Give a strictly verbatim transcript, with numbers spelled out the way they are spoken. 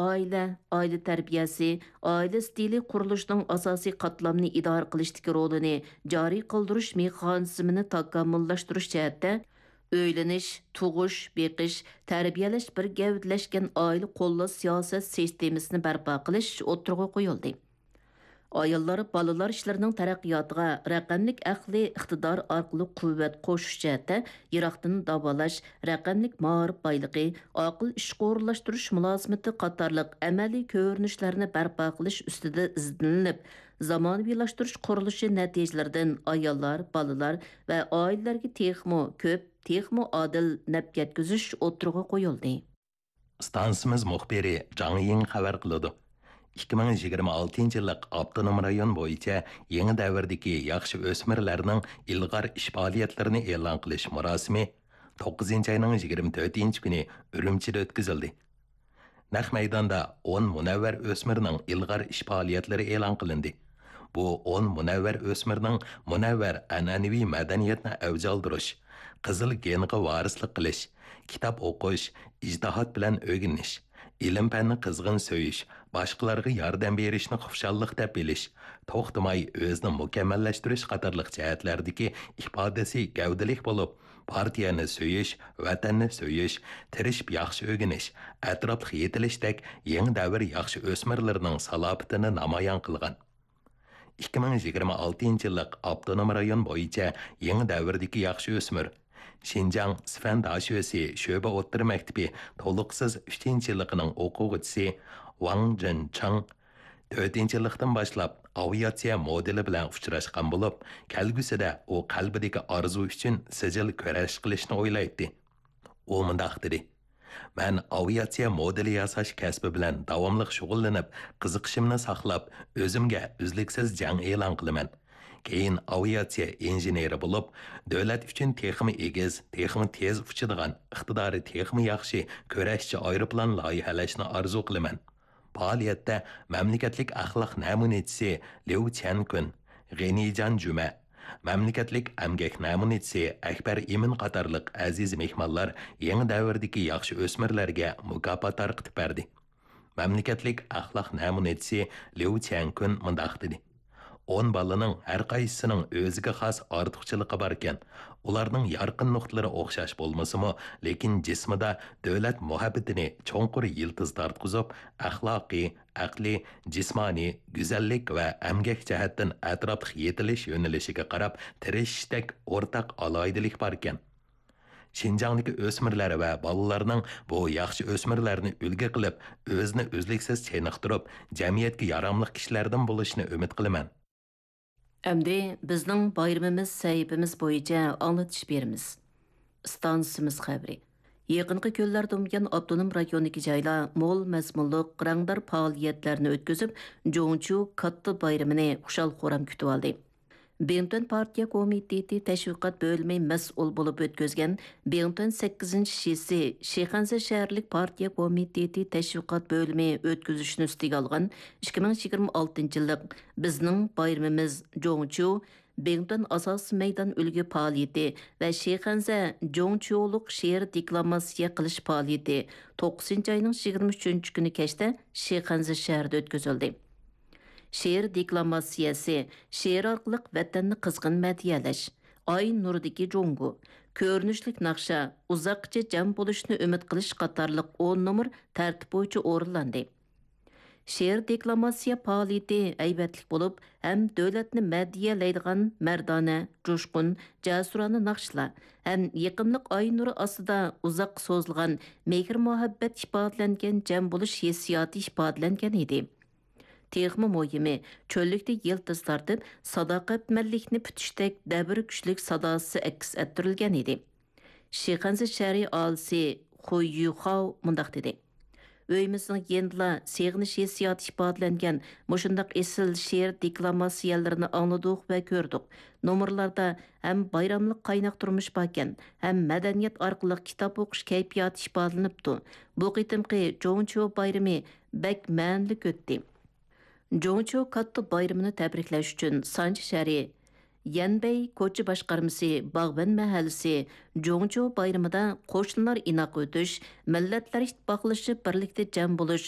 ئائىلە، ئائىلە تەربىيەسى، ئائىلە ئىستىلى قۇرۇلۇشىنىڭ ئاساسىي قاتلامنى ئىدارە قىلىشتىكى رولىنى جارى قىلدۇرۇش مېخانىزمىنى تاكامۇللاشتۇرۇش جەھەتتە ئۆيلىنىش، تۇغۇش، بېقىش، تەربىيەلەش بىر گەۋدىلەشكەن ئائىلە قوللاش سىياسەت سىستېمىسىنى بەرپا قىلىش ئوتتۇرىغا قويۇلدى. ئاياللار، بالىلار ئىشلىرىنىڭ تەرەققىياتىغا رەقەملىك ئەقلىي ئىقتىدار ئارقىلىق قۇۋۋەت قوشۇش جەھەتتە يىراقتىن داۋالاش، رەقەملىك مائارىپ بايلىقى، ئاقىل ئىشقا ئورۇنلاشتۇرۇش مۇلازىمىتى قاتارلىق ئەمەلىي كۆرۈنۈشلەرنى بەرپا قىلىش ئۈستىدە ئىزدىنىلىپ، زامانىۋىلاشتۇرۇش قۇرۇلۇشى نەتىجىلىرىدىن ئاياللار، بالىلار ۋە ئائىلىلەرگە تېخىمۇ كۆپ، تېخىمۇ ئادىل نەپ يەتكۈزۈش ئوتتۇرىغا قويۇلدى. ئىستانسىمىز مۇخبىرى جاڭ يىڭ خەۋەر قىلىدۇ. ئىككى مىڭ يىگىرمە ئالتىنچى يىللىق ئاپتونوم رايون بويىچە يېڭى دەۋردىكى ياخشى ئۆسمۈرلەرنىڭ ئىلغار ئىش پائالىيەتلىرىنى ئېلان قىلىش مۇراسىمى توققۇزىنچى ئاينىڭ يىگىرمە تۆتىنچى كۈنى ئۈرۈمچىدە ئۆتكۈزۈلدى. نەق مەيداندا ئون مۇنەۋۋەر ئۆسمۈرنىڭ ئىلغار ئىش پائالىيەتلىرى ئېلان قىلىندى. بۇ ئون مۇنەۋۋەر ئۆسمۈرنىڭ مۇنەۋۋەر ئەنئەنىۋى مەدەنىيەتنى ئەۋج ئالدۇرۇش، قىزىل گېنغا ۋارىسلىق قىلىش، كىتاب ئوقۇش، ئىجتىھات بىلەن ئۆگىنىش، ئىلىم-پەننى قىزغىن سۆيۈش، باشقىلارغا ياردەم بېرىشنى خۇشاللىق دەپ بىلىش، توختىماي ئۆزىنى مۇكەممەللەشتۈرۈش قاتارلىق جەھەتلەردىكى ئىپادىسى گەۋدىلىك بولۇپ، پارتىيەنى سۆيۈش، ۋەتەننى سۆيۈش، تىرىشىپ ياخشى ئۆگىنىش، ئەتراپلىق يېتىلىشتەك يېڭى دەۋر ياخشى ئۆسمۈرلىرىنىڭ سالاپىتىنى نامايان قىلغان. ئىككى مىڭ يىگىرمە ئالتىنچى يىللىق ئاپتونوم رايون بويىچە يېڭى دەۋردىكى ياخشى ئۆسمۈر، شىنجاڭ سىفەن داشۆسى شۆبە ئوتتۇرا مەكتىپى تولۇقسىز ئۈچىنچى يىللىقىنىڭ ئوقۇغۇچىسى ۋاڭ جېنچاڭ تۆتىنچى يىللىقتىن باشلاپ ئاۋىئاتسىيە مودېلى بىلەن ئۇچراشقان بولۇپ، كەلگۈسىدە ئۇ قەلبىدىكى ئارزۇ ئۈچۈن سىجىل كۈرەش قىلىشنى ئويلايتتى. ئۇ مۇنداق دېدى: مەن ئاۋىئاتسىيە مودېلى ياساش كەسپى بىلەن داۋاملىق شۇغۇللىنىپ، قىزىقىشىمنى ساقلاپ، ئۆزۈمگە ئۈزلۈكسىز جەڭ ئېلان قىلىمەن. كېيىن ئاۋىئاتسىيە ئىنژېنېرى بولۇپ، دۆلەت ئۈچۈن تېخىمۇ ئېگىز، تېخىمۇ تېز ئۇچىدىغان، ئىقتىدارى تېخىمۇ ياخشى كۈرەشچى ئايروپىلان لايىھەلەشنى ئارزۇ قىلىمەن. پائالىيەتتە مەملىكەتلىك ئەخلاق نەمۇنىچىسى ليۇ چيەنكۈن، غېنىجان جۈمە، مەملىكەتلىك ئەمگەك نەمۇنىچىسى ئەكبەر ئىمىن قاتارلىق ئەزىز مېھمانلار يېڭى دەۋردىكى ياخشى ئۆسمۈرلەرگە مۇكاپات تارقىتىپ بەردى. مەملىكەتلىك ئەخلاق نەمۇنىچىسى ليۇ چيەنكۈن مۇنداق دېدى: ئون بالىنىڭ ھەر قايسىسىنىڭ ئۆزىگە خاس ئارتۇقچىلىقى باركەن. ئۇلارنىڭ يارقىن نۇقتىلىرى ئوخشاش بولمىسىمۇ، لېكىن جىسمىدا دۆلەت مۇھەببىتىنى چوڭقۇر يىلتىز تارتقۇزۇپ، ئەخلاقىي، ئەقلىي، جىسمانىي، گۈزەللىك ۋە ئەمگەك جەھەتتىن ئەتراپلىق يېتىلىش يۆنىلىشىگە قاراپ تىرىشىشتەك ئورتاق ئالاھىدىلىك باركەن. شىنجاڭدىكى ئۆسمۈرلەر ۋە بالىلارنىڭ بۇ ياخشى ئۆسمۈرلەرنى ئۈلگە قىلىپ، ئۆزىنى ئۈزلۈكسىز چېنىقتۇرۇپ، جەمئىيەتكە ياراملىق كىشىلەردىن بولۇشىنى ئۈمىد قىلىمەن. ئەمدى بىزنىڭ بايرىمىمىز سەھىپىمىز بويىچە ئاڭلىتىش بېرىمىز. ئىستانسىمىز خەۋىرى. يېقىنقى كۈنلەردىن بۇيان ئاپتونوم رايوندىكى جايلار مول مەزمۇنلۇق، رەڭدار پائالىيەتلەرنى ئۆتكۈزۈپ، جۇڭچيۇ كاتتا بايرىمىنى خۇشال-خۇرام كۈتۈۋالدى. بىڭتۈەن پارتىيە كومىتېتى تەشۋىقات بۆلۈمى مەسئۇل بولۇپ ئۆتكۈزگەن بىڭتۈەن سەككىزىنچى شىسى شىخەنزە شەھەرلىك پارتىيە كومىتېتى تەشۋىقات بۆلۈمى ئۆتكۈزۈشنى ئۈستىگە ئالغان ئىككى مىڭ يىگىرمە ئالتىنچى يىللىق بىزنىڭ بايرىمىمىز جۇڭچيۇ بىڭتۈەن ئاساسىي مەيدان ئۈلگە پائالىيىتى ۋە شىخەنزە جۇڭچيۇلۇق شېئىر دېكلاماتسىيە قىلىش پائالىيىتى توققۇزىنچى ئاينىڭ يىگىرمە ئۈچىنچى كۈنى كەچتە شىخەنزە شەھىرىدە ئۆتكۈزۈلدى. شېئىر دېكلاماتسىيەسى، شېئىر ئارقىلىق ۋەتەننى قىزغىن مەدھىيەلەش، ئاي نۇرىدىكى جۇڭگو، كۆرۈنۈشلۈك ناخشا، ئۇزاققىچە جەم بولۇشنى ئۈمىد قىلىش قاتارلىق ئون نومۇر تەرتىپ بويىچە ئورۇنلاندى. شېئىر دېكلاماتسىيە پائالىيىتى ھەيۋەتلىك بولۇپ، ھەم دۆلەتنى مەدھىيەلەيدىغان مەردانە، جۇشقۇن، جەسۇرانە ناخشىلار، ھەم يېقىملىق ئاي نۇرى ئاستىدا ئۇزاققا سوزۇلغان مېھىر-مۇھەببەت ئىپادىلەنگەن جەم بولۇش ھېسسىياتى ئىپادىلەنگەن ئىدى. تېخىمۇ مۇھىمى، چۆللۈكتە يىلتىز تارتىپ، ساداقەتمەنلىكنى پۈتۈشتەك دەبىر كۈچلۈك ساداسى ئەكس ئەتتۈرۈلگەن ئىدى. شىخەنزە شەھىرى ئاھالىسى خۇي يۈخاۋ مۇنداق دېدى: ئۆيىمىزنىڭ يېنىدىلا سېغىنىش ھېسسىياتى ئىپادىلەنگەن مۇشۇنداق ئېسىل شېئىر دېكلاماتسىيەلىرىنى ئاڭلىدۇق ۋە كۆردۇق. نومۇرلاردا ھەم بايراملىق قايناق تۇرمۇش باركەن، ھەم مەدەنىيەت ئارقىلىق كىتاب ئوقۇش كەيپىياتى ئىپادىلىنىپتۇ. بۇ قېتىمقى جۇڭچيۇ بايرىمى بەك مەنىلىك ئۆتتى. جۇڭچيۇ كاتتا بايرىمىنى تەبرىكلەش ئۈچۈن سانجى شەھىرى يەنبەي كوچا باشقارمىسى، باغۋەن مەھەللىسى، جۇڭچۇ بايرىمىدا قوشنىلار ئىناق ئۆتۈش، مىللەتلەر ئىتتىپاقلىشىپ بىرلىكتە جەم بولۇش،